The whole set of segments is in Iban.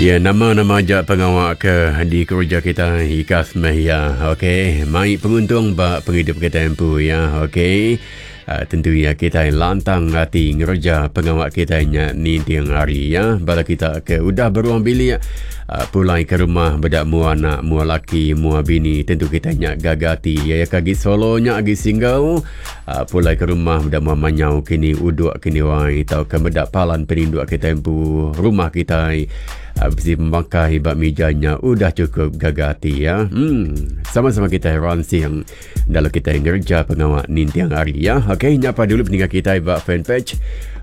Ya nama-nama aja pengawa ke dikereja kita ikas meh ya. Okey, mai penguntung ba pengidup kita empu ya. Okey. Uh, tentu ya kita lantang ati ngereja pengawa kita nya ninting hari ya. Bala kita ke udah beruang bilik uh, pulai ke rumah beda mua anak, mua laki, mua bini, tentu kita nya gaga ati. Ya ya ke agi solo nya agi single uh, pulai ke rumah meda mua manyau kini uduk kini wai tauka meda palan peninduk kita empu rumah kita uh, bisi pemakai ba mija nya udah cukup gaga ati ya. Hmm, sama-sama kita ransing dalam kita ngerja pengawa ninting hari ya. Okey, nyapa dulu peninggal kita ba fanpage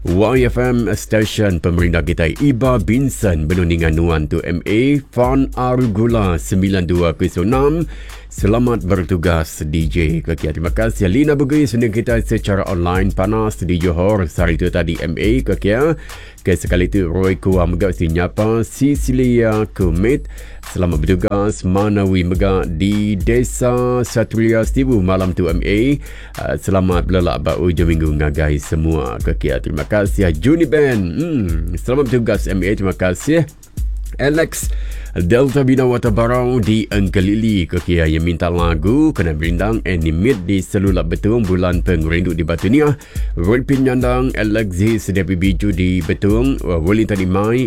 YFM Station Pemerintah kita Iba Binson benung ninga nuan tu MA Fan Arugula 9206. Selamat bertugas DJ Kekia. Terima kasih Lina Bugis sending kita secara online panas di Johor sehari itu tadi MA Kekia. Ke sekali tu Roy Kua mega si nyapa Cecilia Kumit. Selamat bertugas Manawi mega di Desa Satria Sibu malam tu MA. Uh, selamat belelak ba ujung minggu ngagai semua Kekia. Terima kasih Juni Ben. Hmm, selamat bertugas MA. Terima kasih. Alex Delta Bina Wata Barau di Engkelili ke kia yang minta lagu kena berindang animate di Selulap Betung Bulan Pengerindu di Batu Niah. Roy Pinyandang Alexis Debbie Biju di Betung, Wellington Imai.